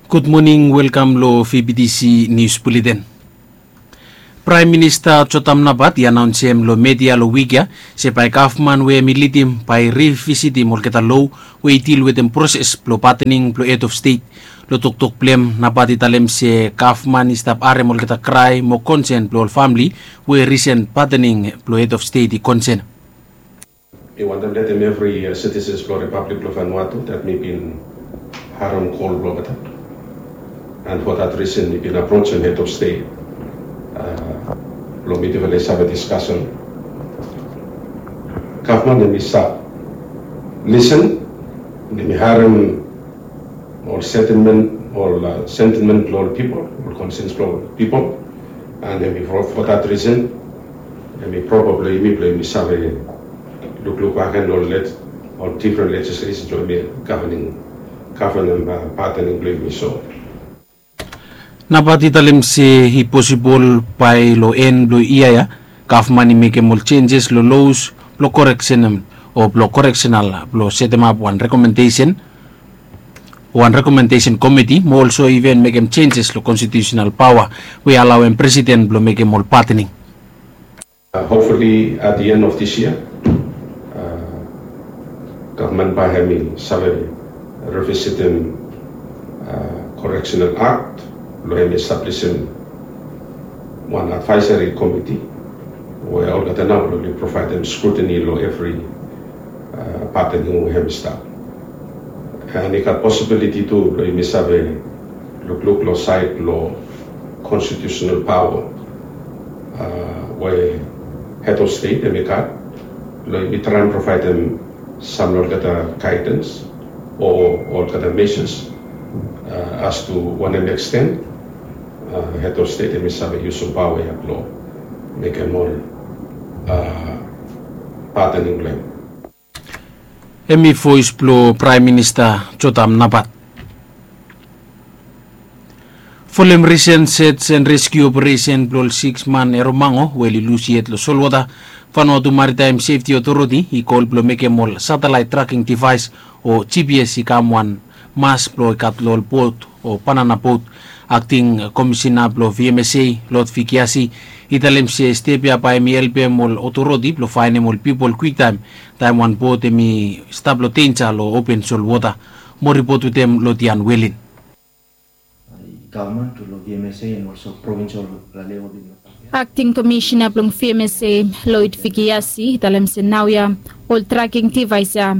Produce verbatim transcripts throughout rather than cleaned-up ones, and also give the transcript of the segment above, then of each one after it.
Gud moning, welkam long V B T C News Bulletin. Praem Minista Jotam Napat i anaonsem long media long wik ya se bae gavman we hem i lidim bae i rivisitim olgeta lo we i dil wetem proses blong patening blong hed of stet. Long toktok blong hem, Napat i talem se gavman i stap harem olgeta krae mo konsen blong ol famle we risen patening blong hed of stet i konsen. Mi wantem letem evri, uh, citizens blong Republic blong Vanuatu that mi bin harem kol blong olgeta. And for that reason mi bin aprojem head of state, uh, blong mi tu i save discussion. Gavman hem i stap lisen, hem i harem ol sentiment, ol, uh, sentiment blong ol pipol, ol concerns blong ol pipol. And hem i, for, for that reason, hem i probably mi blong hem i save lukluk bakegen ol leg-, ol different legislation blong hem i governing, governing, uh, patening blong hem i so. Napat i talem se i posibol bae long en blong yia ya gavman i mekem ol jenjes long los blong koreksenem o blong koreksenal blong setemap wan rekomendesen, wan rekomendesen komiti mo olso iven mekem jenjes long konstitiusenal paoa we i alaoem presiden blong mekem ol patening. Uh, hopefully at the end of this year, uh, gavman bae hem i save revisitim, uh, Correctional Act blong hem i establisim wan advisory committee we olgeta nao blong oli provaedem scrutiny long evri, uh, patening we hem i stap. And i gat possibility tu blong yumi save lukluk long saed blong constitutional paoa, uh, we head of state hem i gat, blong yumi traem provaedem sam long olgeta guidance o olgeta measures, uh, as to wanem extent, uh, head of state hem i save yusum paoa ya blong mekem ol, uh, patening blong hem. Hem i voes blong Praem Minista Jotam Napat. Folem risen search and rescue operation blong ol siks man Eromango we oli lus yet long solwota, Vanuatu Maritime Safety Authority i kol blong mekem ol satellite tracking device o G P S i kam wan mas blong i gat long ol bot o banana bot. Akting komisina blong V M S A, Lord Vikiasi, i talem se step ya bae hem i helpem ol otoriti blong faenem ol pipol kwiktaem taem wan bot hem i stap long denja long open solwota. Mo ripot wetem Lodian Welin. Akting Komisina blong V M S A, Lloyd Vikiasi, i talem se naoia ol tracking device ya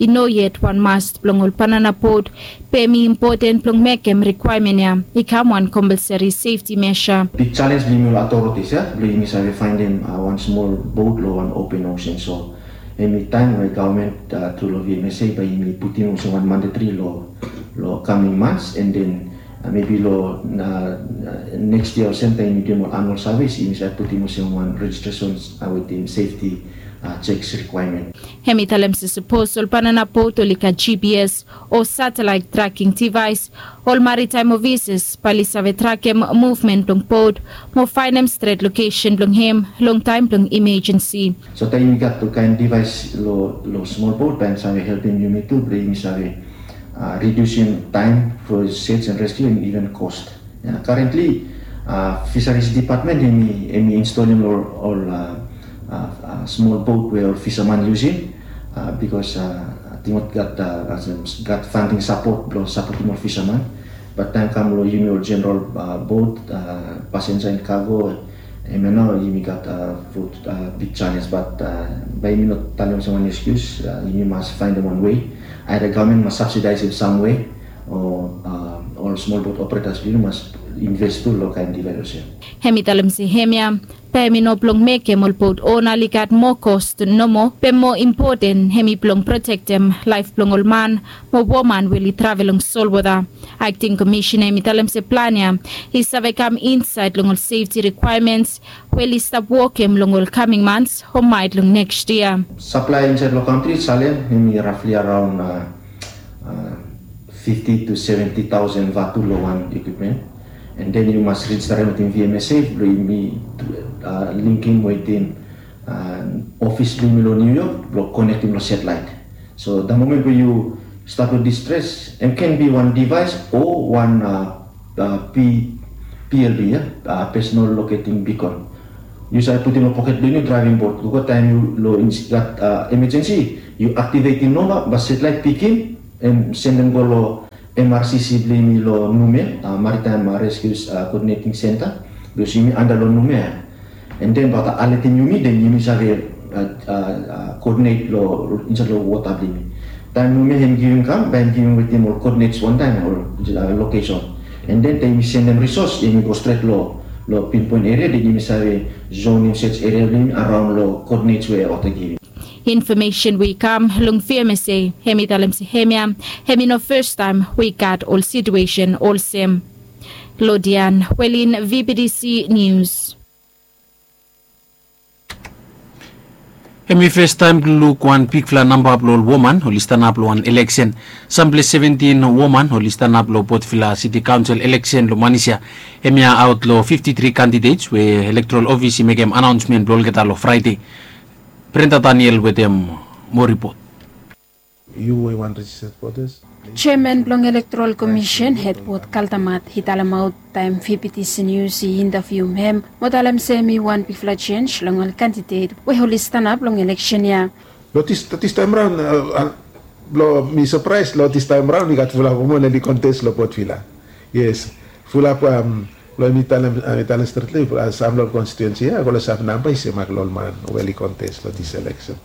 i no yet wan must blong ol banana bot, be hem i impoten blong mekem rikwaemen ya i kam wan compulsory safety measure. Big challenge blong yumi ol authorities ya blong yumi save faenem, uh, wan smol bot long wan open ocean. So hem i taem we gavman, uh, tru long V M S A bae yumi putim olsem wan mandatory long, long coming months, and then, uh, maybe long, uh, uh, next year olsem taem yumi duim ol annual service yumi save putim olsem wan registration, uh, wetem safety, uh, checks requirement. Hem i talem se sapos ol banana bot oli gat G P S o satellite tracking device, ol maritime officers bae oli save trakem movement blong bot mo faenem stret location blong hem long taem blong emergency. So taem yumi gat ol kaen device long, long smol bot bae hem save helpem yumi tu blong yumi save, uh, redusim taem for search and rescue and even cost. Ya, currently, uh, Fisheries Department hem i, hem i instalim long ol, uh, uh, uh, smol bot we ol fisaman yusum, uh, bikos, uh, ating gat, uh, gat funding sapot blong sapotem ol fisaman. Bat taem kam long yumi ol general, uh, bot, uh, passenger and cargo, hemia nao yumi gat, uh, ful, uh, big challenge, bat, uh, bae yumi no talem olsem wan excuse, uh, yumi mas faenem wan way. Either gavman mas subsidize in some way, o, uh, ol smol bot operators blong yumi mas invest tu long kaen device ya. Hem i talem se hemia bae hem i no blong mekem ol bot ona oli gat moa cost nomo, be moa impoten hem i blong protektem laef blong ol man mo woman we oli travel long solwota. Akting Komisina hem i talem se plan ya i save kam insaed long ol safety requirements we oli stap wokem long ol coming months o maet long next year. Supply insaed long kantri salem hem i roughly around, uh, uh, fifty to seventy thousand vatu long wan equipment. And then yu mas registerem wetem V M S A blong yumi, uh, linkem wetem, uh, office blong yumi long New York blong konektem long satellite. So the moment we yu Stap long distres, em ken bi wan devaes o wan, a, a, P, P L B, ya, a, personal locating beacon. Yu save putum long poket blong yu draeving bot. Gogo taem yu long ins-, gat, a, emergency, yu aktivetim nao, bae satellite pikim, em sendem go long M R C C blong yumi long Numea, a, Maritime, a, Rescue, a, Coordinating Center. Bikos yumi anda long Numea. And then bae olgeta alertim yumi, then yumi save, a, a, a, coordinate long insaed long wota blong yumi. Taem Numea hem givim kam, bae hem givim wetem ol coordinates wantaem, ol, a, location. And then taem yumi sendem resource, yumi go stret long, long pinpoint area, then yumi save zonem search area blong yumi araon long coordinates we olgeta givim. Infomesen we i kam long V M S A, hem i talem se hemia hem i no fastaem we i gat ol situesen olsem. Lodian Welin, V B T C News. Hem i fastaem blong luk wan bigfala namba blong ol woman oli stanap long wan eleksen. Samples seventin woman oli stanap long Port Vila City Council eleksen long manis ya. Hemia aot long fifti tri candidates we electoral office i mekem anaonsmen blong olgeta long Fraede. Brenda Daniel wetem moa ripot. Yu we i wan registered voters. Jeaman blong Electoral Commission, Hetwod Kaldamat, i talemaot taem V B T C News i intavium hem, mo talem se hem i wan bigfala jenis long ol kandidet we oli stanap long eleksen ya. Long dis, long dis taem raon, a, a, long mi sapraes, long dis taem raon i gat fulap woman oli kontes long Port Vila. Yes, fulap, am, long mi talem, a, mi talem stret long yu, a, sam long konstituensi ya, a, go long sam namba i semak long ol man we oli kontes long dis eleksen.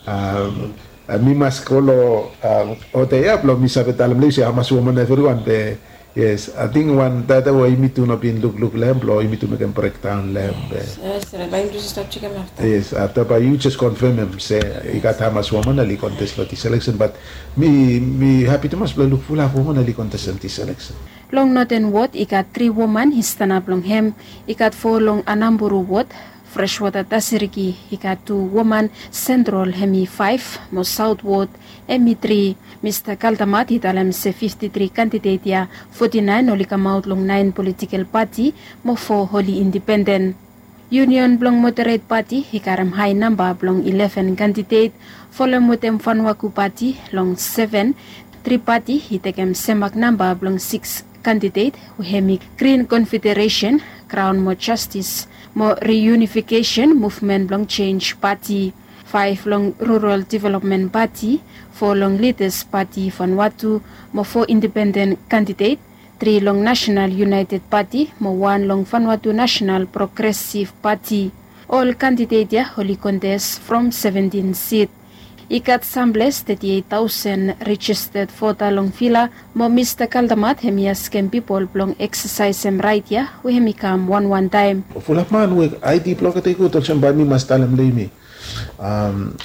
Am, a, mi mas go long, am, ol dei ya blong mi save talem long yu se hamas woman evriwan, be, yes, ating wan data we yumi tu no bin lukluk long hem, blong yumi tu mekem brekdaon long hem, be. Yes, yes, bae yumi tu stap jekem afta. Yes, afta bae yu jes konfemem se i gat hamas woman oli kontes long dis eleksen, bat mi, mi hapi tumas blong luk fulap woman oli kontes long dis eleksen. Long Noten Wod i gat tri woman i stanap long hem, i gat fo long Anamburu Wod, Freshwater Tasiriki i gat tu woman, Central hem i faef, mo South Wod hem i tri. Mista Kaldamat i talem se fifti tri kandidet ya, foti naen oli kamaot long naen politikel pati, mo fo oli indipenden. Union blong Moderet Pati i karem hae namba blong ileven kandidet, folem wetem Fanuaku Pati long seven, Tri Pati i tekem semak namba blong sikis kandidet, we hem i Green Confederation, Crown mo Jastis, mo Reunification Movement blong Jenj Pati, faef long Rural Development Pati, fo long Lidas Pati Fanuatu, mo fo indipenden kandidet, tri long Nasenal United Pati, mo wan long Fanuatu Nasenal Progresiv Pati. Ol kandidet ya oli kontes from seventin sit. I gat samples teti eit taosen rejisted vota long Vila, mo Mista Kaldamat hem i askem pipol blong eksasaesem raet ya, we hem i kam wanwan taem. Fulap man we ID blong olgeta i gud, olsem bae mi mas talem long yumi. Am,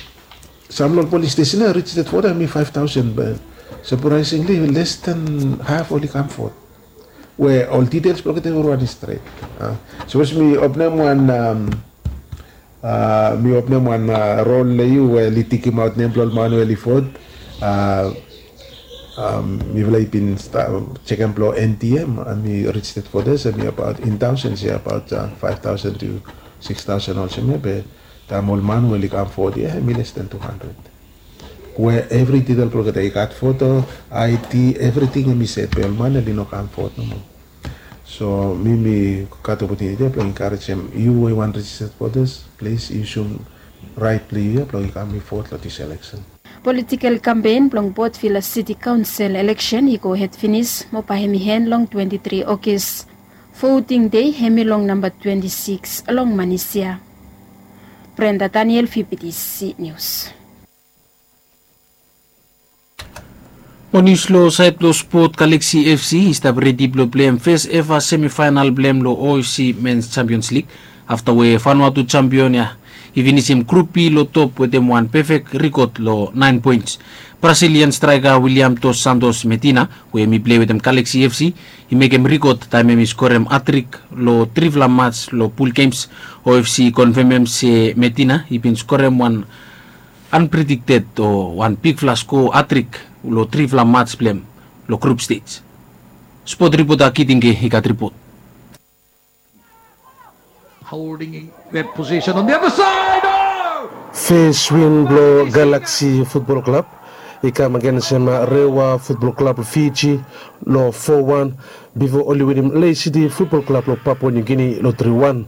sam long ol polis stesen ya, rejisted vota hem i faef taosen, be sapraesingli les dan haf oli kam vot. We ol details blong olgeta evriwan i stret. A, sapos mi openem wan, am, a, mi openem wan, a, rol long yu we oli tikimaot nem blong ol man we oli vot. A, am, mifala i bin sta-, jekem blong N T M, a, hem i rejisted voters, hem i abaot in taosens ya, abaot, a, faef taosen tu sikis taosen olsem ya, be taem ol man we oli kam vot ya, hem i les dan tu handred. We evri detail blong olgeta i gat foto, ID, evriting hem i set, be ol man oli no kam vot nomo. So mi, mi gat opotuniti ya blong enkarejem yu we yu wan rejisted voters, plis yusum raet blong yu ya blong yu kam i vot long dis eleksen. Politikel kampen blong Port Vila City Council eleksen i gohed finis, mo bae hem i en long twenti tri Ogis. Voting dei hem i long namba twenti sikis long manis ya. Brenda Daniel, V B T C News. Mo nius long saed blong spot, Galaxy F C i stap redi blong pleim fes eva semifaenal blong hem long O F C Men's Champions League, afta we Vanuatu champion ya i finisim Grup B long top wetem wan pefek rekod long naen poens. Brazilian straeka William Dos Santos Medina, we hem i plei wetem Galaxy F C, i mekem rekod taem hem i skorem hatrik long trifala mats long pul gems. O F C i konfemem se Medina i bin skorem wan unpredicted o wan bigfala skoa hatrik long trifala mats blong hem long grup stej. Spot ripota Kitinge i gat ripot. Holding that position on the other side. Oh! Fes win blong Galaxy Football Club i kam agensem Rewa Futbol Klab long Fiji long fo wan, bifo oli winim Lae City Futbol Klab long Papua Niu Gini long tri wan.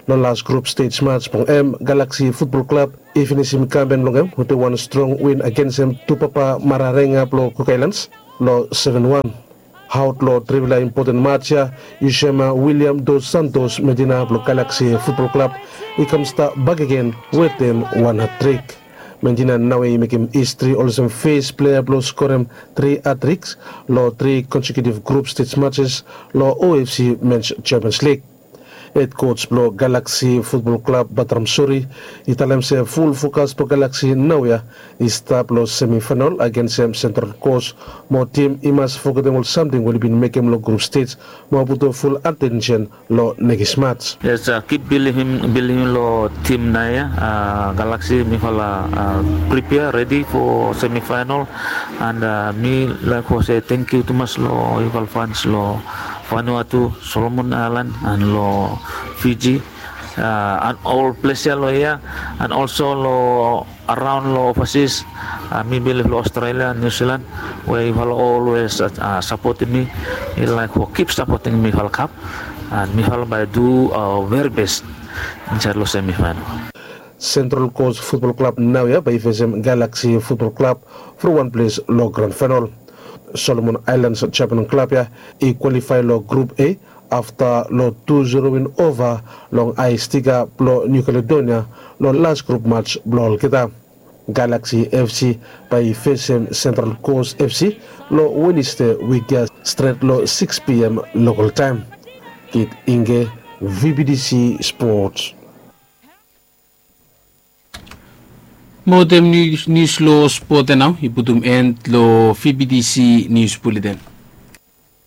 Long las grup stej mats blong hem, Galaksi Futbol Klab i finisim kampen blong hem wetem wan strong win agensem Tupapa Mararenga blong Kuk Aelans long seven wan. Aot long trivela impoten mats ya, Yusema William Dos Santos Medina blong Galaksi Futbol Klab i kam stap bakegen wetem wan hatrik. Medina naoia i mekem histri olsem fes plea blong skorem tri hatriks long tri konsekiutiv grup stej matses long O F C Mens Champions Lig. Hed koj blong Galaksi Futbol Klab, Batram Suri, i talem se ful fokas blong Galaksi naoia i stap long semifaenol agensem Sentral Kos, mo tim i mas fogetem ol samting we oli bin mekem long grup stej mo putum ful atensen long nekis mats. Yes, kip bilivim bilivim long tim naoia. Galaksi mifala pripea redi fo semifaenol. And mi laik fo se tangkiu tumas long yufala fans long Vanuatu, Solomon Aelan, and long Fiji, and ol ples ya long hia, and olso long araon long ovasis. Mi bilif long Australia, New Zealand, we yufala olwes sapotem mi. Mi laik fo kip sapotem mifala kap, and mifala bae du veri bes insaed long semifaenol. Sentral Kos Futbol Klab naoia bae i fesem Galaksi Futbol Klab from wan ples long gran faenol. Solomon Aelans Japan klab ya i kwalifae long grup A afta long tu zero win ova long Ae Stiga blong Niu Kaledonia long las grup mats blong olgeta. Galaksi F C bae i fesem Sentral Kos F C long Weneste wik ya stret long siks P M lokal taem. Kit Inge, V B T C Sports. Mo wetem nius long spot ya nao i putum en long V B T C Nius Buleten.